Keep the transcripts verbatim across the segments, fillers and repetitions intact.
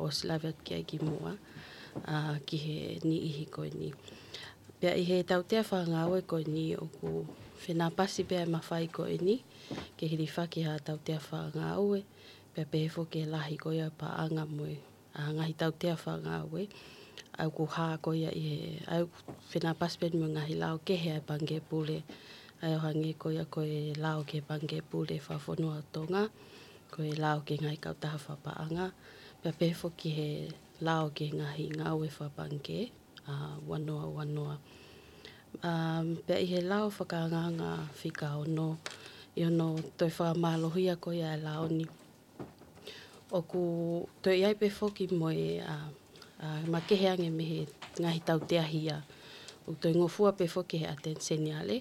ʻosi lave atu ki ai kimuʻa, ʻa, ki he niʻihi ko eni. Pea ʻi he tautea fakangāue ko eni ʻoku fenāpasi pē ʻa e mafai ko eni, ke hilifaki ha tautea fakangāue, pea pehē foki ki he lahi ko ia paʻanga mo e, ʻa, ngaahi tautea fakangāue, ʻa ʻoku hā ko ia ʻi he, ʻa ʻoku fenāpasi pē mo e ngaahi lao kehe ʻa e Pangikē Pule, ʻa ʻo hangē ko ia ko e lao ki he Pangikē Pule fakafonua ʻo Tonga, ko e lao ki he ngaahi kautaha fakapaʻanga, pea pehē foki ki he lao ki he ngaahi ngāue fakapangikē, ʻa, ua noa ua noa. ʻA, pea ʻi he lao fakaangaanga fika ono, ʻi hono toe fakamālohia ko ia ʻa e lao ni, ʻoku toe ʻi ai pē foki mo e, ʻa, ʻa, makehe ange mei he ngaahi tautea hia. ʻOku toe ngofua pē foki he ʻAteni Seniale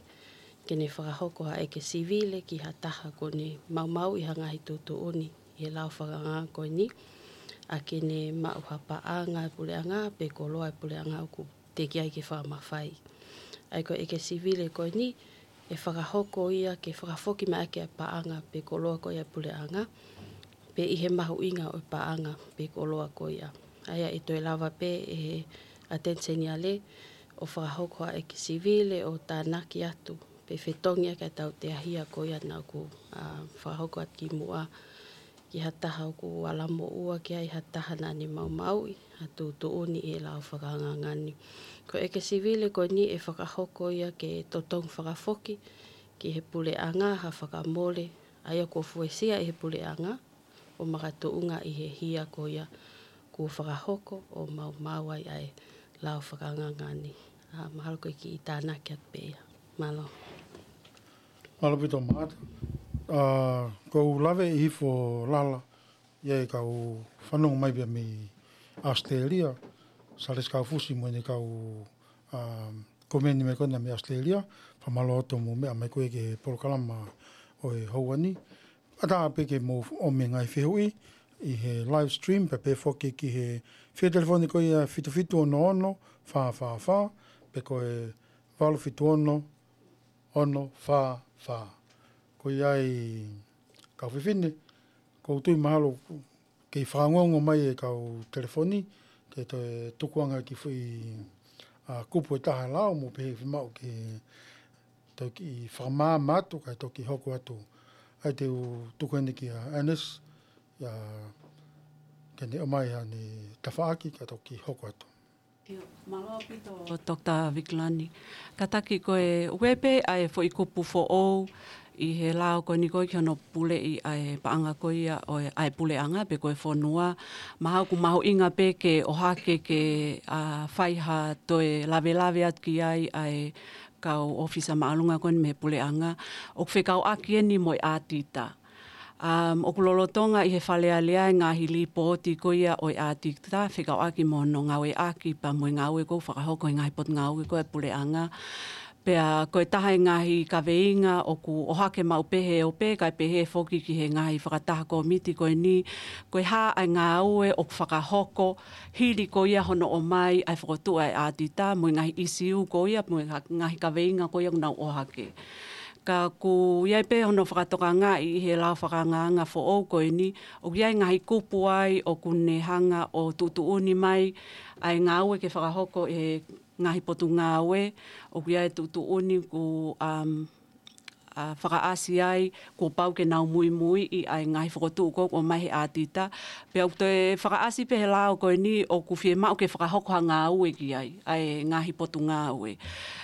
ke ne fakahoko ha ʻeke sivile ki ha taha kuo ne maumauʻi ha ngaahi tuʻutuʻuni ʻi he lao fakaangaanga ko eni, ʻa, ke ne maʻu ha paʻanga ʻa e puleʻanga pe koloa ʻa e puleʻanga ʻoku teʻeki ai ke fakamafai. ʻA ia ko e ʻeke sivile ko eni, ʻe fakahoko ia ke fakafoki mai ʻaki ʻa e paʻanga pe koloa ko ia ʻa e puleʻanga, pe ʻi he mahuʻinga ʻo e paʻanga pe koloa ko ia. ʻA ia ʻe toe lava pē ʻe he ʻAteni Seniale ʻo fakahoko ha ʻeke sivile ʻo tānaki atu pe fetongi ʻaki ʻa e tautea hia ko ia naʻa ku, ʻa, fakahoko atu kimuʻa ki ha taha ʻoku ala moʻua ki ai ha taha naʻa ne maumauʻi ha tuʻutuʻuni ʻi he lao fakaangaanga ni. Ko e ʻeke sivile ko eni ʻe fakahoko ia ke totongi fakafoki ki he puleʻanga ha fakamole, ʻa ia kuo fuesia ʻe he puleʻanga ʻo makatuʻunga ʻi he hia ko ia kuo fakahoko ʻo maumau ai ʻa e lao fakaangaanga ni. ʻA, mahalo ko e kiʻi tānaki atu pē ia. Mālō. Mālō ʻaupito Maʻata. ʻA, ʻoku ou lave ʻi hifo lala, ʻi ai e kau fanongo mai pē mei ʻAositelēlia, Salesi Kaufusi mo ʻene kau, ʻa, komeni mai ko ena mei ʻAositelēlia, fakamālō atu hoʻomou meʻa mai ko ē ki he polokalama ʻo e houa ni. ʻAtā pē ke mou ʻomai e ngaahi fehuʻi ʻi he live stream, pea pehē foki ki he fika telefoni ko ia fitu fitu ono ono fā fā fā, pe ko e valu fitu ono ono fā fā. Ko ia ai kau fefine, ʻoku ou tui mahalo kei fakaongoongo mai e kau telefoni, ke toe tukuange ha kiʻi foʻi, ʻa, kupu ʻe taha ʻe lao mo pehē fiemaʻu ke toki fakamaama atu, kae toki hoko atu. ʻA ia te u tuku heni kia Ernest, ia, ke ne ʻomai haʻane tafaʻaki, kae toki hoko atu. ʻIo, mālō ʻaupito, Doctor Vikilani. Kātaki ko e ʻoku ʻi ai pē ʻa e foʻi kupu foʻou ʻi he lao ko eni ko ē ki hono puleʻi ʻa e paʻanga ko ia ʻo e, ʻa e puleʻanga pe ko e fonua. Mahalo ʻoku mahuʻinga pē ke ʻohake ke, ʻa, fai ha toe lavelave atu ki ai ʻa e kau ʻōfisa māʻolunga ko eni mei he puleʻanga. ʻOku fekauʻaki eni mo e ʻātita. Um, ʻoku lolotonga ʻi he Fale Alea e ngaahi lipooti ko ia ʻo e ʻātita fekauʻaki mo hono ngāueʻaki pea mo e ngāue ʻoku fakahoko ʻe he ngaahi potungāue ko ē ʻa e puleʻanga. Pea ko e taha e ngaahi kaveinga ʻoku ʻohake maʻu pē he ope, kae pehē foki ki he ngaahi fakataha kōmiti ko eni, ko e hā ʻa e ngāue ʻoku fakahoko hili ko ia hono ʻomai ʻa e fokotuʻu ʻa e ʻātita mo e ngaahi ʻisiū ko ia mo e ha-, ngaahi kaveinga ko ia ʻoku nau ʻohake. Ka ʻoku ʻi ai pē hono fakatokangaʻi ʻi he lao fakaangaanga foʻou ko eni, ʻoku ʻi ai e ngaahi kupu ai ʻoku ne hanga ʻo tuʻutuʻuni mai ʻa e ngāue ke fakahoko ʻe he ngaahi potungāue, ʻoku ʻi ai e tuʻutuʻuni ʻoku, um, ʻa, fakaʻasi ai, kuo pau ke nau muimuiʻi ʻa e ngaahi fokotuʻu ko ē ʻoku ʻomai ʻe he ʻātita. Pea ʻoku toe fakaʻasi pē he lao ko eni ʻoku fiemaʻu ke fakahoko ha ngāue ki ai ʻa e ngaahi potungāue.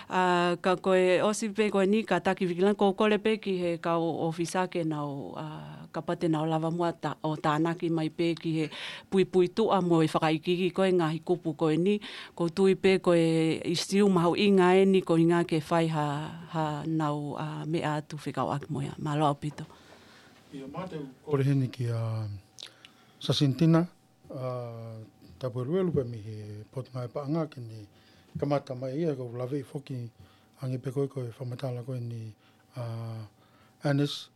ʻA, ka ko e ʻosi pē ko eni kātaki Vikilani, ʻoku ou kole pē ki he kau ʻōfisa ke nau, ʻa, kapau te nau lava muʻa ta-, ʻo tānaki mai pē ki he puipuituʻa mo e fakaikiiki ko ē ngaahi kupu ko eni, ʻoku ou tui pē ko e ʻisiū mahuʻinga eni ko e ʻuhinga ke fai ha, ha nau, ʻa, meʻa atu fekauʻaki mo ia. Mālō ʻaupito. ʻIo, Maʻata, te u kole heni kia Sasinitina, ʻa, Tapueluelu pē mei he Potungāue Paʻanga ke ne kamata mai ia, ʻoku ou laveʻi foki ange pē ko e, ko e fakamatala ko eni, ʻa, Ernest,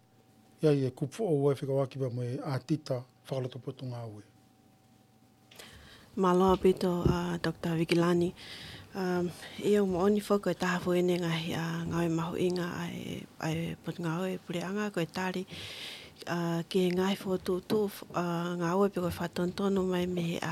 ʻi ai e kupu foʻou ʻe fekauʻaki pea mo e ʻātita fakaloto potungāue. Mālō ʻaupito, ʻa, Doctor Vikilani. Um, ʻio, moʻoni foki ko e taha foki eni e ngaahi, ʻa, ngāue mahuʻinga ʻa e, ʻa e potungāue puleʻanga ko e tali, ʻa, ki he ngaahi fokotuʻutuʻu, ʻa, ngāue pe ko e fakatonutonu mai mei he